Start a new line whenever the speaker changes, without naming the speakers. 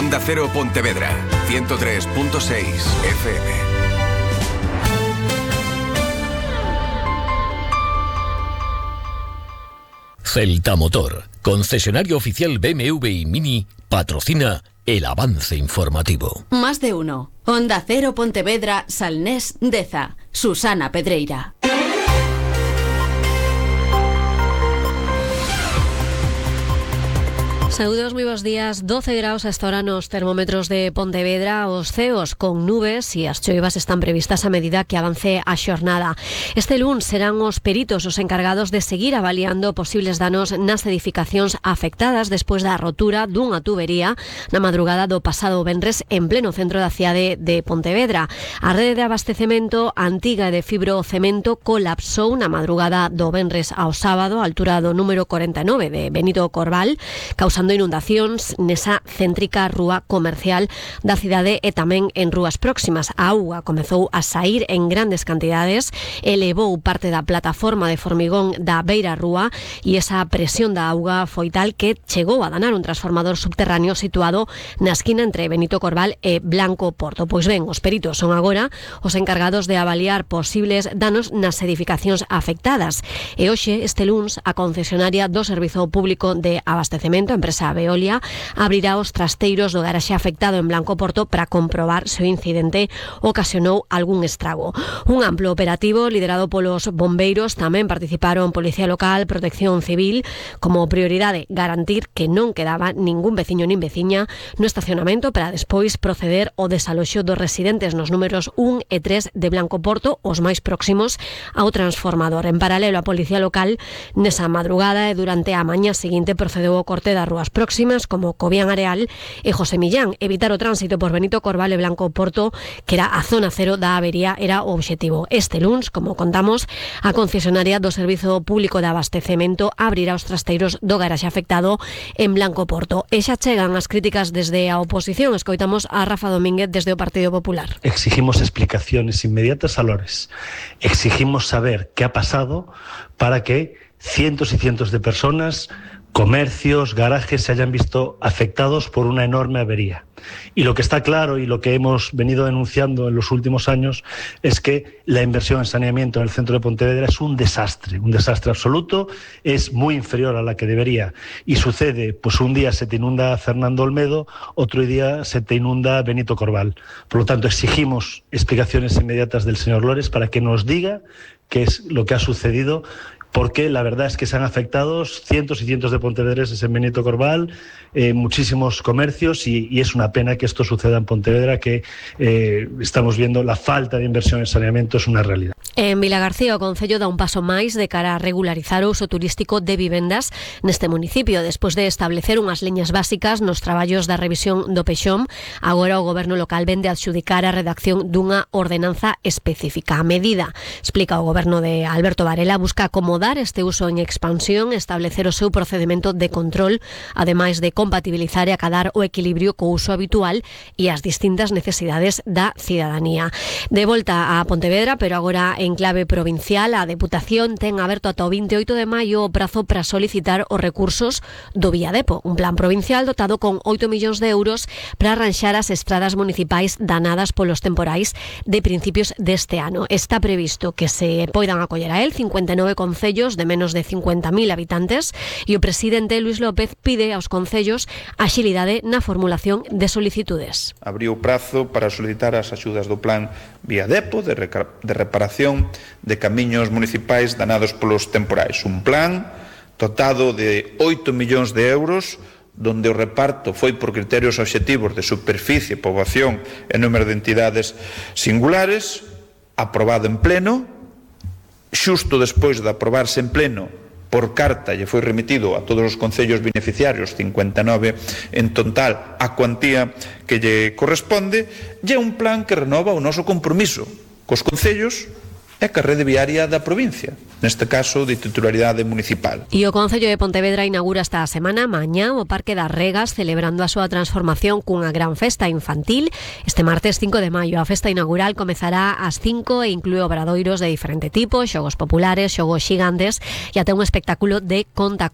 Onda Cero Pontevedra, 103.6 FM.
Celta Motor, concesionario oficial BMW y Mini, patrocina el avance informativo.
Más de uno. Onda Cero Pontevedra, Salnés, Deza. Susana Pedreira.
Saúdos, moi bons días. 12 graus hasta ahora nos termómetros de Pontevedra, os ceos con nubes e as choivas están previstas a medida que avance a xornada. Este luns serán os peritos os encargados de seguir avaliando posibles danos nas edificacións afectadas despois da rotura dunha tubería na madrugada do pasado venres en pleno centro da cidade de Pontevedra. A rede de abastecemento antiga de fibrocemento colapsou na madrugada do venres ao sábado, a altura do número 49 de Benito Corbal, causando inundacións nesa céntrica rúa comercial da cidade e tamén en rúas próximas. A auga comezou a saír en grandes cantidades, elevou parte da plataforma de formigón da beira rúa e esa presión da auga foi tal que chegou a danar un transformador subterráneo situado na esquina entre Benito Corbal e Blanco Porto. Pois ben, os peritos son agora os encargados de avaliar posibles danos nas edificacións afectadas. E hoxe, este luns, a concesionaria do Servizo Público de Abastecemento, empresa Veolia, abrirá os trasteiros do garaxe afectado en Blanco Porto para comprobar se o incidente ocasionou algún estrago. Un amplo operativo liderado polos bombeiros, tamén participaron Policía Local, Protección Civil, como prioridade garantir que non quedaba ningún veciño nin veciña no estacionamento para despois proceder ao desaloxo dos residentes nos números 1 e 3 de Blanco Porto, os máis próximos ao transformador. En paralelo, a Policía Local nesa madrugada e durante a mañá seguinte procedeu ao corte das rúas próximas como Cobián Areal e José Millán. Evitar o tránsito por Benito Corbal e Blanco Porto, que era a zona cero da avería, era o obxectivo. Este luns, como contamos, a concesionaria do Servizo Público de Abastecemento abrirá os trasteiros do garaxe afectado en Blanco Porto. E xa chegan as críticas desde a oposición. Escoitamos a Rafa Domínguez desde o Partido Popular.
Exigimos explicaciones inmediatas a Lores. Exigimos saber qué ha pasado para que cientos y cientos de personas, comercios, garajes se hayan visto afectados por una enorme avería. Y lo que está claro y lo que hemos venido denunciando en los últimos años es que la inversión en saneamiento en el centro de Pontevedra es un desastre absoluto, es muy inferior a la que debería. Y sucede, pues un día se te inunda Fernando Olmedo, otro día se te inunda Benito Corbal. Por lo tanto, exigimos explicaciones inmediatas del señor Lores para que nos diga qué es lo que ha sucedido, porque la verdad es que se han afectado cientos y cientos de pontevedreses en Benito Corbal, muchísimos comercios, y es una pena que esto suceda en Pontevedra, que estamos viendo la falta de inversión en saneamiento es una realidad.
En Vilagarcía, o Concello dá un paso máis de cara a regularizar o uso turístico de vivendas neste municipio. Despois de establecer unhas liñas básicas nos traballos da revisión do Peixón, agora o Goberno local vende a adxudicar a redacción dunha ordenanza específica. A medida, explica o Goberno de Alberto Varela, busca acomodar este uso en expansión, establecer o seu procedimento de control, ademais de compatibilizar e acadar o equilibrio co uso habitual e as distintas necesidades da cidadanía. De volta a Pontevedra, pero agora en clave provincial, a Deputación ten aberto ata o 28 de maio o prazo para solicitar os recursos do Viadepo, un plan provincial dotado con 8 millóns de euros para arranxar as estradas municipais danadas polos temporais de principios deste ano. Está previsto que se poidan acoller a él 59 concellos de menos de 50.000 habitantes e o presidente Luis López pide aos concellos axilidade na formulación de solicitudes.
Abriu o prazo para solicitar as axudas do plan Viadepo de reparación de camiños municipais danados polos temporais. Un plan dotado de 8 millóns de euros, donde o reparto foi por criterios obxectivos de superficie, poboación e número de entidades singulares, aprobado en pleno. Xusto despois de aprobarse en pleno, por carta lle foi remitido a todos os concellos beneficiarios, 59 en total, a cuantía que lle corresponde, e é un plan que renova o noso compromiso cos concellos e a rede viaria da provincia, neste caso de titularidade municipal.
E o Concello de Pontevedra inaugura esta semana mañá o Parque das Regas, celebrando a súa transformación cunha gran festa infantil. Este martes 5 de maio a festa inaugural comezará ás 5 e inclúe obradoiros de diferente tipo, xogos populares, xogos xigantes e até un espectáculo de conta